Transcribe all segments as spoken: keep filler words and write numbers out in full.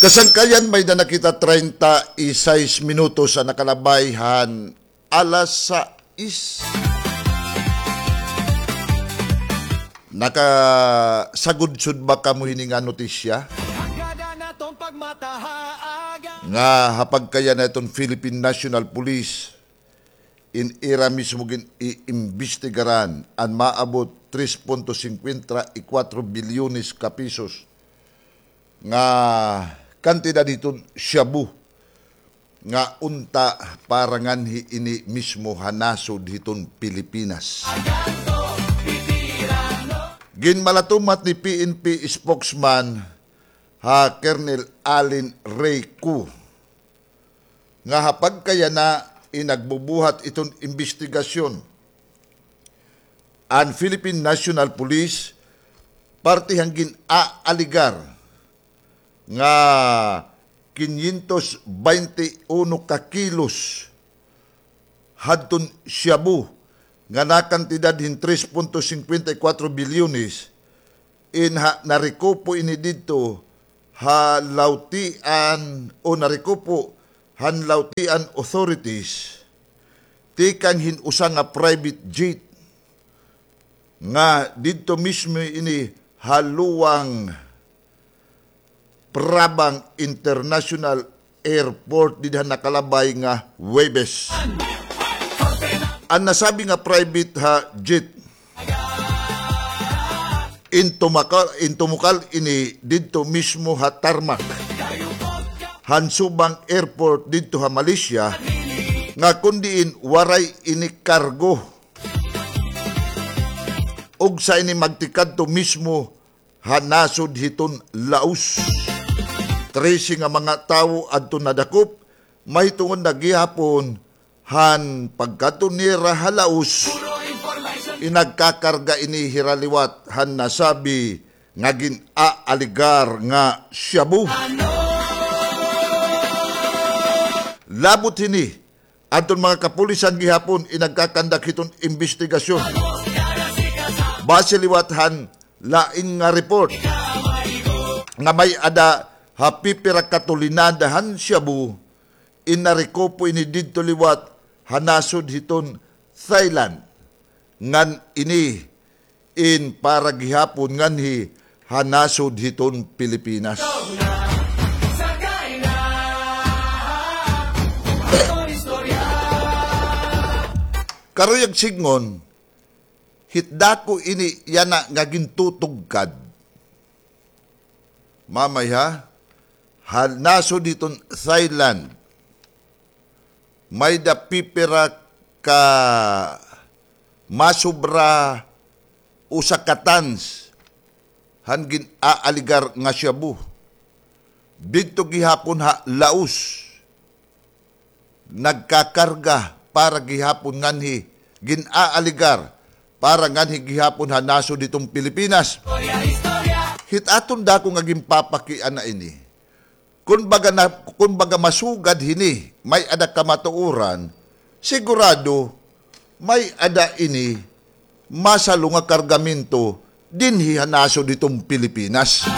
Kasangkayan, may-ada na kita treinta y seis minutos an nakalabay han alas sais. Nakasagudsod ba kamo hini nga notisya? Nga ha pagkayana hiton Philippine National Police, in ira mismo gin-iimbestigaran an maabot tres punto cincuenta y cuatro bilyones ka pesos nga kantidad hiton shabu nga unta para nganhi ini mismo ha nasod hiton Pilipinas. Ginmalatumat ni P N P spokesman ha Colonel Allen Rey Cu nga ha pagkayana in nagbubuhat iton imbestigasyon an Philippine National Police parte han gin-aaligar nga quinientos baynte uno ka kilos hadton shabu nga nakantidad hin tres punto cincuenta y cuatro bilyones in ha, narekupo ini didto ha lawtian o narekupo han lawtian authorities tikang hin usa nga private jet nga didto mismo ini ha Luang Prabang International Airport dida nakalabay nga Huwebes. An nasabi nga private ha jet, in tumakal, in tumukal ini didto mismo ha tarmac han Subang Airport didto ha Malaysia, nga kon diin waray ini kargo. Ug sa ini magtikadto mismo ha nasod hiton Laos. Trese nga mga tawo adton nadakop, mahitungod na gihapon han pagkadto nira ha Laos, in nagkakarga ini hira liwat han nasabi nga gin-aaligar nga shabu. Labot hini, adton mga kapulisan gihapon in nagkakandak hiton imbestigasyon. Base liwat han lain nga report nga may-ada ha pipira ka tolenada han shabu in narekupo ini didto liwat ha nasod hiton Thailand, ngan ini in para gihapon nganhi ha nasod hiton Pilipinas. Karuyag sidngon, hit dako ini yana nga gintutugkad. Mamay ha, ha nasod hiton Thailand, may-ada pipira ka masubra usa ka tons han gin-aaligar nga shabu. Didto gihapon ha Laos, nagkakarga para gihapon nganhi, gin-aaligar para nganhi gihapon ha nasod hiton Pilipinas. Hit aton dako nga ginpapakiana ini, kun baga na, kun baga masugad hini, may-ada kamatuoran, sigurado may-ada ini masalo nga kargamento dinhi ha nasod hiton Pilipinas.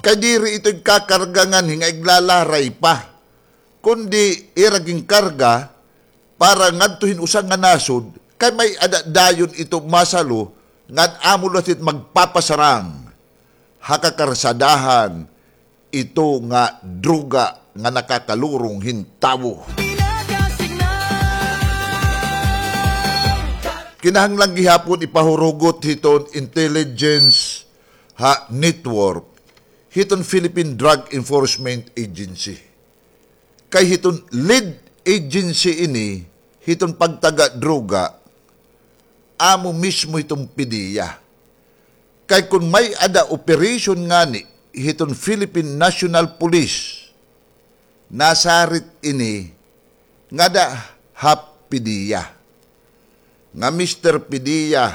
Kay diri ito igkakarga nganhi nga iglalaray pa, kundi ira ginkarga para ngadto hin usa nga nasod, kay may-ada dayon ito masalo ngan amo la it magpapasarang ha kakarsadahan ito nga droga nga nakakalurong hin tawo. Kinahanglan gihapon ipahurugot hiton intelligence ha network hiton Philippine Drug Enforcement Agency. Kay hiton lead agency ini hiton pagtaga droga, amo mismo hiton PDEA. Kay kon may-ada operation ngani hiton Philippine National Police, nasarit ini ngada ha PDEA. Nga, "Mister PDEA,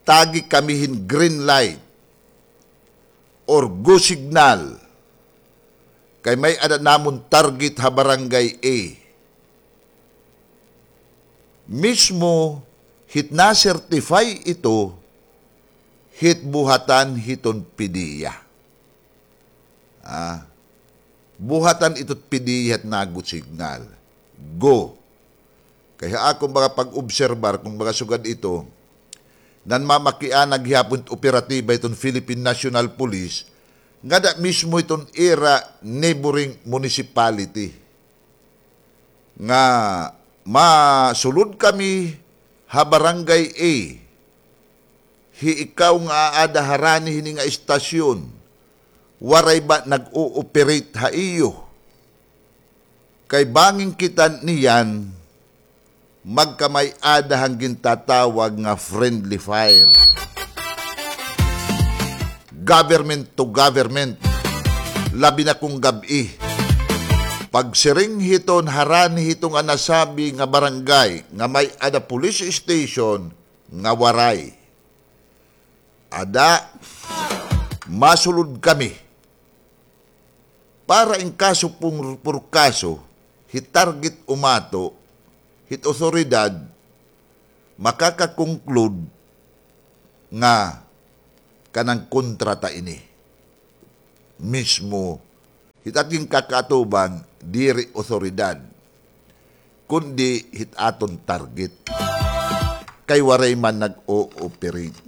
tagi kami hin green light or go signal, kay may-ada namon target ha Barangay A." Mismo hit na-certify ito hit buhatan hiton PDEA. Ah, buhatan ito hit PDEA hit nago signal. Go. Kay ha akon mga pag-obserbar, kon mga sugad ito, nanmamakiana gihapon it operatiba hiton Philippine National Police, ngada mismo hiton ira neighboring municipality. Nga masulod kami ha Barangay A. Hi ikaw nga aada harani hini nga istasyon, waray ba nag-ooperate ha iyo? Kay bangin kita niyan, magkamay-ada han gintatawag nga friendly fire. Government to government, labi na kon gab-i. Pagsiring hiton harani hito nga nasabi nga barangay nga may-ada police station nga waray. Ada, masulod kami. Para in kaso pung-, por kaso, hit target umato, hit otoridad, makaka-conclude nga kanan kontra ta ini. Mismo, hit aton kakaatubang, diri otoridad, kundi hit aton target. Kay waray man nag-ooperate.